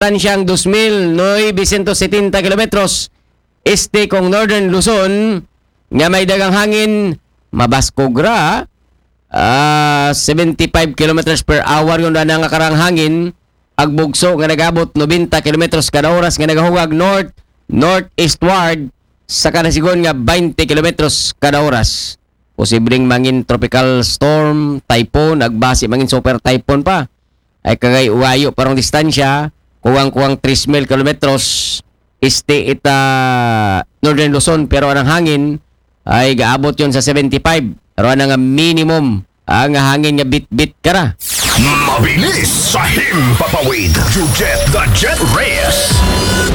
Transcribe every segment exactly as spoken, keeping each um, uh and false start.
distansyang dos mil novecientos setenta kilometros este kong Northern Luzon, nga may daghang hangin, mabaskog ra, ah, seventy-five kilometers per hour yun na nga karang hangin, ag bugso nga nagabot nobenta kilometros kada oras nga nagahugag north, northeastward, sa kada sigon nga twenty kilometros kada oras. Posibleng mangin tropical storm, typhoon, agbasi mangin super typhoon pa. Ay kagay uwayo parang distansya, kuwang-kuwang three mil kilometros, este ita Northern Luzon, pero anang hangin ay gaabot yon sa seventy-five. Pero anang minimum, ah, nga hangin nga bit-bit kara. Mabilis sa himpapawid. You get the jet race.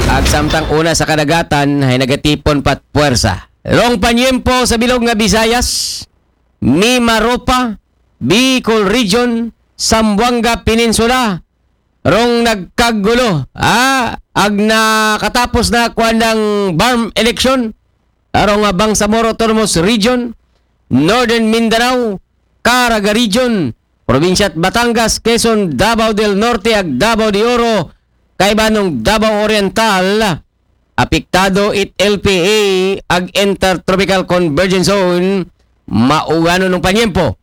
Ag samtang una sa kadagatan, ay nagatipon pat puwersa. Rong panyempo sa bilog nga Visayas, Mimaropa, Bicol Region, Zamboanga Peninsula, rong nagkagulo, ah, ag nakatapos na kuan ng BARMM election, arong, ah, Bangsamoro Autonomous Region, Northern Mindanao, Caraga Region, Probinsya Batangas, Quezon, Davao del Norte, ag Davao de Oro, kaiba nung Davao Oriental, apektado it L P A ag Intertropical Convergence Zone, mauganon ng panyempo.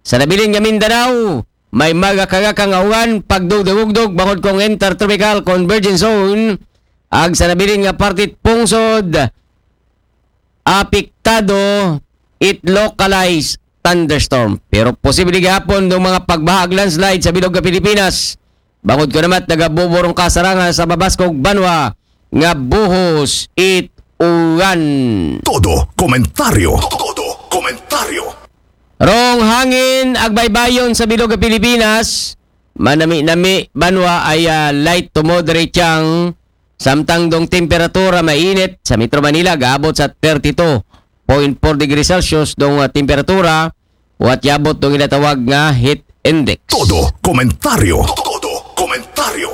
Sa nabilin nga Mindanao, may magakagaka nga uwan, pagdugdugugdog, bangod kong Intertropical Convergence Zone, ag sa nabilin nga partit pungsod, apektado it localized thunderstorm. Pero posible gihapon ng mga pagbaha ag landslide sa bilog nga Pilipinas. Bangod ko namat nagabuburong kasarangan sa mabaskog banwa nga buhos it uwan. Todo komentaryo. Todo komentaryo. Rong hangin ag baybayon sa bilog nga Pilipinas. Manami-nami banwa ay, ah, light to moderate yang samtang dong temperatura mainit sa Metro Manila gaabot sa thirty-two point four degrees Celsius dong, ah, temperatura. Uwat yabot dong ginatawag nga heat index. Todo komentaryo. Todo komentaryo.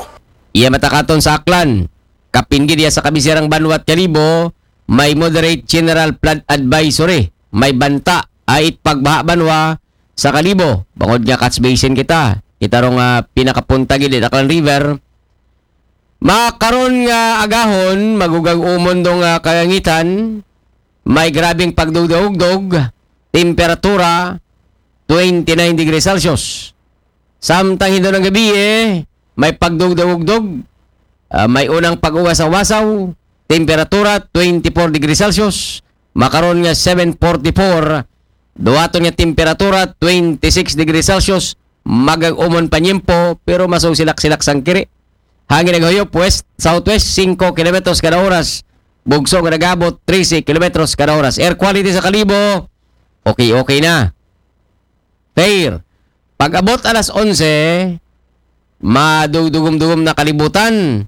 Iya matakaton sa Aklan. Kapin gid iya sa kabisirang banwat Kalibo, may moderate general flood advisory. May banta, ait pagbaha banwa sa Kalibo. Bangod nga catch basin kita. Kita rong, ah, pinakapunta gid it Aklan River. Makaron nga agahon, magugag umon dong, ah, kalangitan. May grabing pagdugdog-dog, temperatura twenty-nine degrees Celsius. Samtang hindo ng gabi, eh, may pagdugdog-dog, ah, may unang pag-uwas sa wasaw, temperatura twenty-four degrees Celsius, makaron nga seven forty-four, duwaton nga temperatura twenty-six degrees Celsius, magag-umon panyempo, pero maso silak-silak sang kiri. Hangin naghuyop west, southwest, singko kilometros kada oras. Bugso nga nagabot, trese kilometros kada oras. Air quality sa Kalibo, okay, okay na. Fair. Pag-abot alas onse, madugdugum-dugum na kalibutan.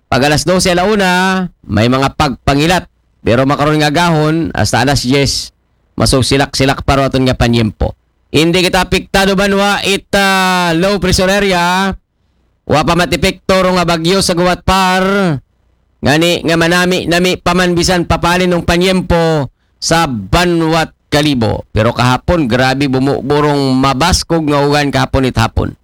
Pag alas dose ala una, may mga pagpangilat. Pero makaron nga gahon, hasta alas diyes, maso silak-silak pa ro aton nga panyempo. Hindi kita apektado banwa it, ah, low pressure area. Wa pa matepekto ro nga bagyo sa guwat par. Ngani nga manami-nami pa man bisan papalin ng panyempo sa banwat Kalibo. Pero kahapon, grabe bumuburong mabaskog nga ugan kahapon it hapon.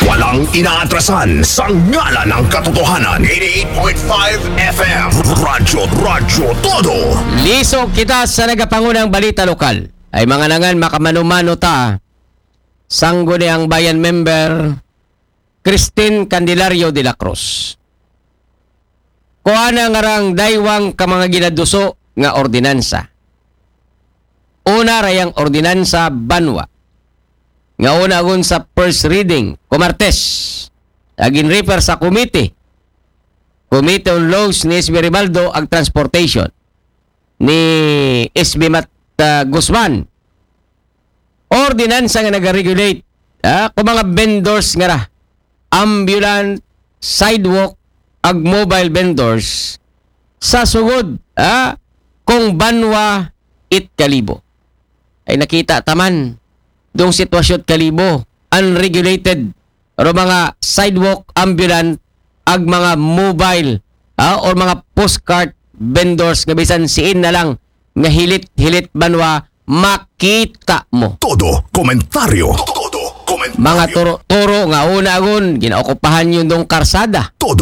Walang inaatrasan sa ngalan ng katotohanan. Eighty-eight point five F M. Radyo, Radyo Todo. Lisog kita sa nagapangunang balita lokal. Ay mga nangan, makamano-mano ta. Sangguniang Bayan member, Christine Candelario de la Cruz. Kuana nga rang daywang ka mga ginaduso nga ordinansa. Una rayang ordinansa banwa. Nga una agun sa first reading, kumartes. Agin refer sa committee. Committee on Laws ni S B Ribaldo ag Transportation ni S B Mat, ah, Guzman. Ordinansa nga nag-regulate, ah, kung mga vendors nga ra, ambulant, sidewalk, ag mobile vendors sa sugod, ah, kung banwa it Kalibo. Ay nakita taman dong sitwasyon Kalibo, unregulated, ro mga sidewalk, ambulant, ag mga mobile, ah, or mga postcart vendors nga bisan siin na lang nga hilit-hilit banwa makita mo. Todo komentaryo. Todo Mga turo-turo nga una gun ginaokupahan yun dong karsada. Todo